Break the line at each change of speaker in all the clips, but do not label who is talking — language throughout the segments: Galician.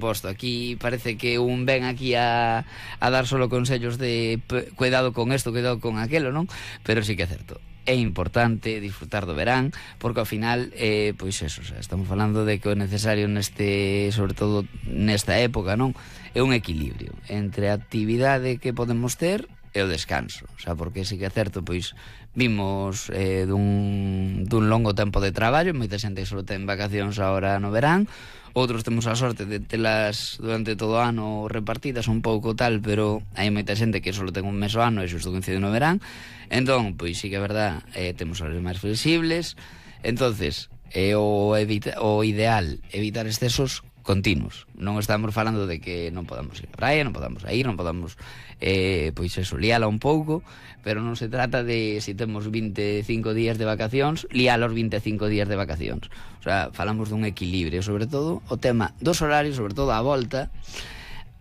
Posto, aquí parece que un ven aquí a dar solo consellos de cuidado con esto, cuidado con aquelo, non? Pero sí que é certo, é importante disfrutar do verán, porque ao final, pois eso, o sea, estamos falando de que o necesario sobre todo nesta época, non? É un equilibrio entre a actividade que podemos ter e o descanso, o sea, porque sí que é certo, pois vimos dun longo tempo de traballo, moita xente que só ten vacacións agora no verán, outros temos a sorte de telas durante todo o ano repartidas un pouco tal, pero hai moita xente que só ten un mes ao ano e xusto coincide no verán. Entón, pois sí que é verdad, temos horarios máis flexibles. Entonces, o ideal evitar excesos continuos. Non estamos falando de que non podamos ir á praia, non podamos ir, non podamos pois eso, liala un pouco, pero non se trata de, se temos 25 días de vacacións, liala os 25 días de vacacións. O sea, falamos dun equilibrio, sobre todo o tema dos horarios, sobre todo a volta,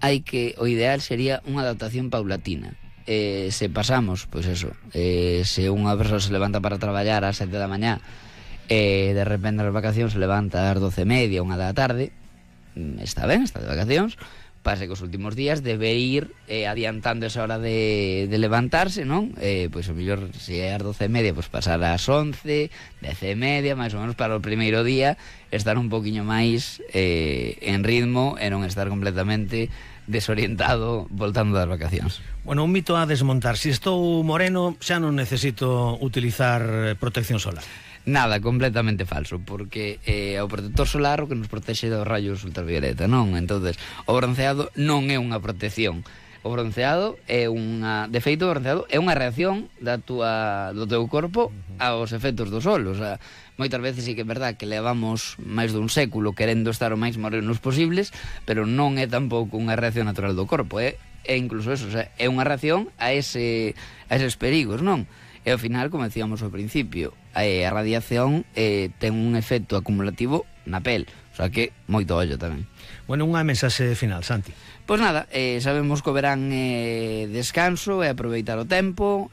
o ideal sería unha adaptación paulatina. Se pasamos, pois eso, se unha persoa se levanta para traballar ás 7 da mañá, de repente as vacacións se levanta ás 12:30, 1 da tarde, está ben, está de vacacións, pase que os últimos días debe ir adiantando esa hora de levantarse, non? Pois o mellor, se é ás 12:30, pois pasar ás 11, 10:30, máis ou menos, para o primeiro día estar un poquinho máis en ritmo e non estar completamente desorientado voltando das vacacións.
Bueno, un mito a desmontar: se estou moreno xa non necesito utilizar protección solar.
Nada, completamente falso, porque o protector solar o que nos protexe dos rayos ultravioleta, non? Entonces, o bronceado non é unha protección. O bronceado é de feito, o bronceado é unha reacción do teu corpo aos efectos do sol. O sea, moitas veces sí que é verdad que levamos máis dun século querendo estar o máis morenos posibles, pero non é tampouco unha reacción natural do corpo, é incluso eso, o sea, é unha reacción a eses perigos, non? E ao final, como decíamos ao principio, a radiación ten un efecto acumulativo na pel, o sea que moito ollo tamén.
Bueno, unha mensaxe final, Santi.
Pois nada, sabemos que o verán é descanso, é aproveitar o tempo,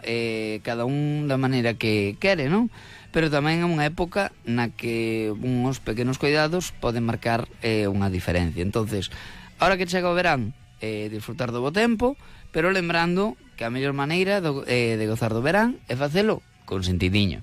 cada un da maneira que quere, non? Pero tamén é unha época na que uns pequenos cuidados poden marcar unha diferencia. Entonces, ahora que chega o verán, disfrutar do bo tempo, pero lembrando que a mellor maneira de gozar do verán é facelo con sentidiño.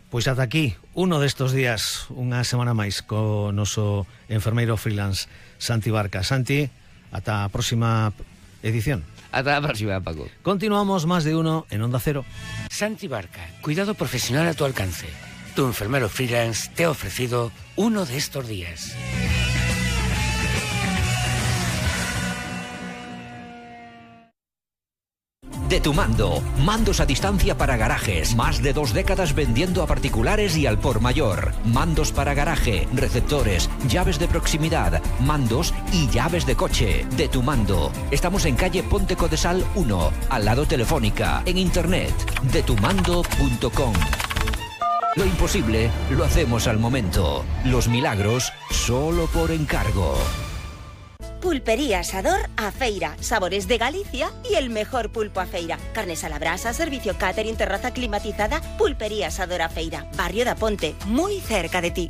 Pois ata aquí, uno destos días, unha semana máis, co noso enfermeiro freelance Santi Barca. Santi, ata a próxima edición.
Ata a próxima, Paco.
Continuamos Más de Uno en Onda Cero.
Santi Barca, cuidado profesional a tu alcance. Tu enfermero freelance te ha ofrecido uno de estos días.
De Tu Mando, mandos a distancia para garajes, más de 2 décadas vendiendo a particulares y al por mayor. Mandos para garaje, receptores, llaves de proximidad, mandos y llaves de coche. De Tu Mando. Estamos en calle Ponte Codesal 1, al lado Telefónica, en internet, detumando.com. Lo imposible lo hacemos al momento. Los milagros solo por encargo.
Pulpería Asador A Feira, sabores de Galicia y el mejor pulpo a feira. Carnes a la brasa, servicio catering, terraza climatizada. Pulpería Asador A Feira, barrio da Ponte, muy cerca de ti.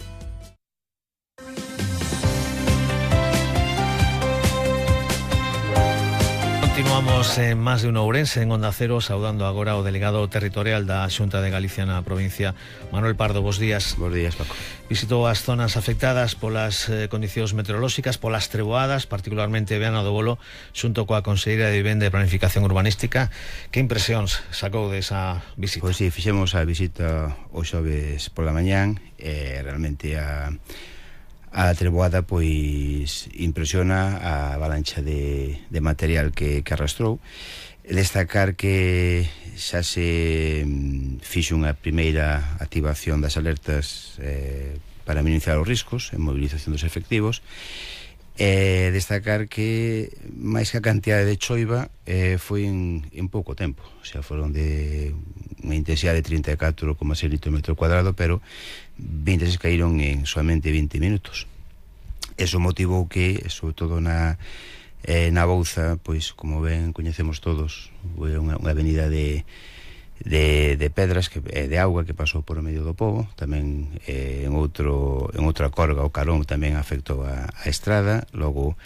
Continuamos en Más de Uno Ourense, en Onda Cero, saudando agora o delegado territorial da Xunta de Galicia na provincia, Manuel Pardo. Bos días.
Bos días, Paco.
Visitou as zonas afectadas polas condicións meteorolóxicas, polas treboadas, particularmente Viana do Bolo, xunto coa Conselleira de Vivenda e Planificación Urbanística. Que impresións sacou desa visita?
Pois si, fixemos a visita o xoves pola mañán, e realmente a treboada pois impresiona, a avalancha de material que arrastrou. Destacar que xa se fixo unha primeira activación das alertas para minimizar os riscos en movilización dos efectivos. Destacar que máis que a cantidade de choiva foi en pouco tempo, o sea, foron de unha intensidade de 34,6 litros metro cuadrado, pero 26 caíron en solamente 20 minutos. Eso motivou que, sobre todo na Bouza, pois, como ben coñecemos todos, unha avenida de de pedras, de auga que pasou por o medio do pobo. Tamén en outra corga o carón tamén afectou a estrada. Logo